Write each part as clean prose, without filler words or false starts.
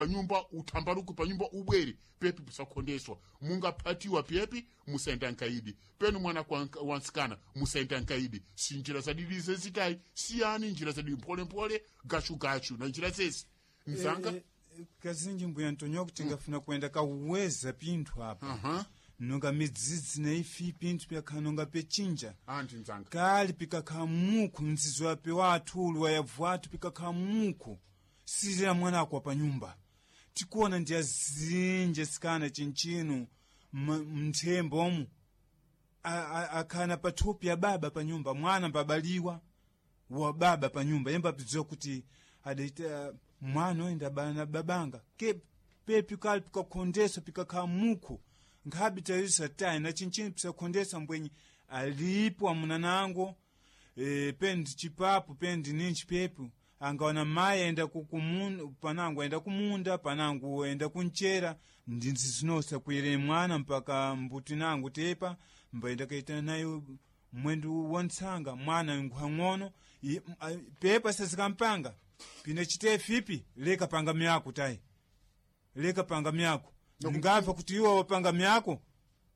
Panyumba utambaruku panyumba ubwere pepi pusakhondeswa mungaphatiwa pepi musaenda nkaidi penu mwana kwa wansikana musaenda nkaidi si njira zadili zezitayi siyani njira zadili mpholemphole gachugachu na njira zezi mzanga. Kazinji mbuya ntonyo kuti ngafuna kuenda kauweza pinthu apa. Nonga midzidzi na ifi pinthu pyakhala nonga pechinja. Anti mzanga. Kali pikakhala mukhu mdzidzo wape wathu uli wayavu athu pikakhala mukhu silira mwana akwa pa nyumba tikuona ndi azinji sikana chinchino mthembo omu akhana pathupi ya baba pa nyumba mwana mbabaliwa wa baba pa nyumba yemba apidziwa kuti adaita mwana oyenda na babanga ke pepi kali pikakhondeswa pikakhala mukhu nkhabi tayusa tayi na chinchino pisakhondesa mbwenyi alipo amunanango pendi chipapo pendi ninchi pepu angaona mayi aenda kukumunda panangu aenda kumunda panangu aenda kunchera ndinzi zinosa kuyere mwana mpaka mbuti nangu tepa mbaenda kaita nayo mwendu wantsanga mwana nkhwang'ono pepa sazikampanga pine chite fipi leka panga myako tayi leka panga myako ngapfa kuti iwo wapanga myako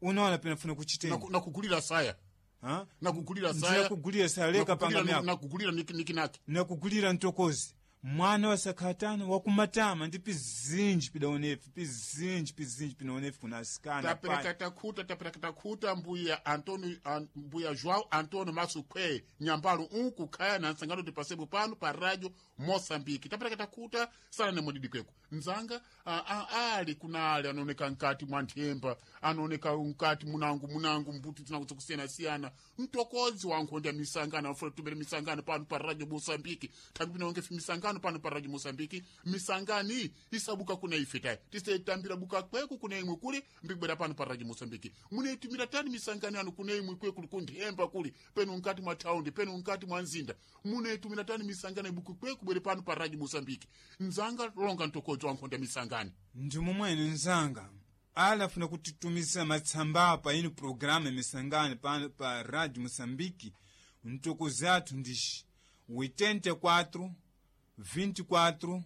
unaona pinafuna kuchitenda. Nakugulira saya. Ha? Nakugulira saya. Ndinakugulira saya leka panga myako. Nakugulira nikinaki. Nakugulira ntokozi mwana wasakhatana wakumatama ndi pizinji pidaonefi pizinji pizinji pinaonefi kuna asikana. Tapereka takhuta tapereka takhuta mbuya Antonio mbuya João Antonio Masukhwe nyambalo unku khaya na nsangano tipasepo pano pa radio Moçambique. Tapereka takhuta sana nemodidi kweko nzanga ali kunali anaoneka nkati mwa nthemba anaoneka nkati munangu munangu mbuti tinangu zakusiyana-siyana mtokozi wa nkhonda misangano afuna tumere misangano pano pa radio Moçambique thambi pinaonge fi misangano pano pa radio Moçambique misangani isabuka kuna ife tayi tisetambira buka kweku kuna imwe kuli mbikubwera pano pa radio Moçambique muneitumira tani misangano yanu kuna imwe kweku kunthemba kuli penu nkati mwa thaundi penu nkati mwa nzinda muneitumira tani misangano ibuku kweku bwere pano pa radio Moçambique nzanga longa mtokozi wa nkhonda misangani. Ndi momwene nzanga ala afuna kutitumizira matsamba apa ino programa ya misangano pano pa radio Moçambique mtokozi athu ndixi 84 24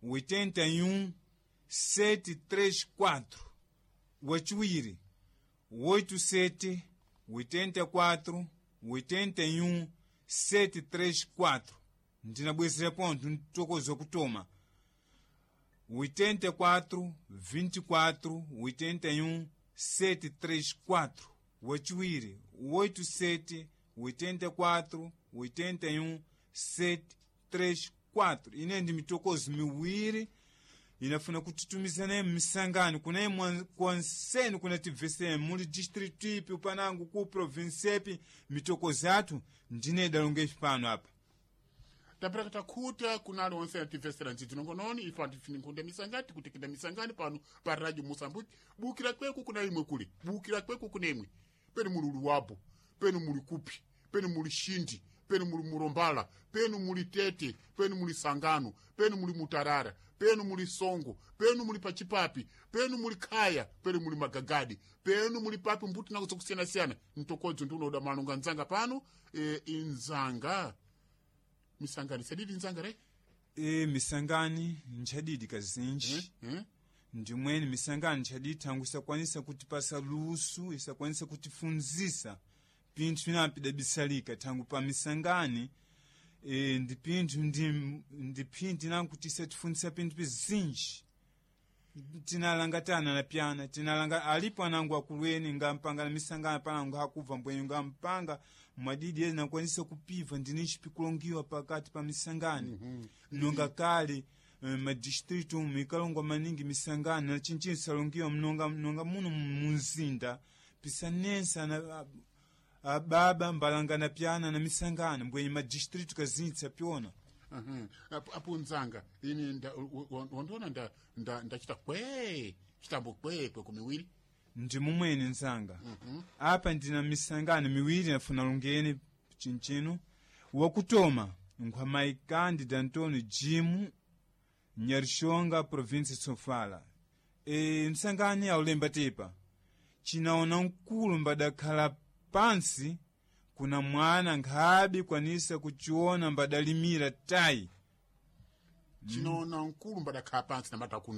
81 734 wachiwiri 87 84 81 734 ndinabwezera pontho mtokozi wakutoma 84 24 81 734 wachiwiri 87 84 81 734 ine ndi mitokozi miwiri inafuna kutitumizana misangano kuna kwanseni kuna tibveseni muli district ipi panangu ku province ipi mitokozi athu ndine idalonga ifi pano apa. Tapereka takhuta kunali onse ativesera ndzidzi nongononi ife antifini nkhunda misangani tikutikita misangani pano pa radio Moçambique bukira kweku kuna imwe kuli bukira kweku kuna imwe penu muli luwapo penu muli kupi penu muli shindi penu muli murombala penu muli tete penu muli sangano penu muli mutarara penu muli songo penu muli pachipapi penu muli khaya penu muli magagadi penu muli papi mbuti nako zakusiyana-siyana mtokodzo ndi unoda malonga nzanga pano inzanga misangani sadidi nzanga re. Misangani nchadidi kazinji. Ndimweni misangani nchadidi thangu isakwanisa kutipasa lusu isakwanisa kutifunzisa pinthu pinapidabisalika thangu pa misangani ndi pinthu ndi phindi nankuti isatifunzisa pinthu pizinji tinalangatana na pyana tinalanga alipo anangu akulueni ngampanga na misangano panangu hakubva mbwenyu ngampanga mwadidi ena nakwanisa kupiva ndinichi pikulongiwa pakati pa misangano. Nonga kale madistritu umu ikalongwa maningi misangano na chinchini salongiwa mnonga mnonga muno munzinda pisanensa na ababa mbalangana pyana na misangano mbwenyu madistritu kazinji sapyona. Apo nzanga ini wandiona ndachita kwee chitambo kwee kweko miwiri. Ndi mumwene nzanga. Apa ndina misangano miwiri nafuna lungeni chinchino wakutoma nkhwamayi Cândido Antônio Jimu Nyarishonga province Sofala msangani aulemba tepa chinaona mkulu mbadakhala pansi kuna mwana nkhabi kwanisa kuchiona mbadalimira tayi. Chinoona nkulu mbadakhala pansi namata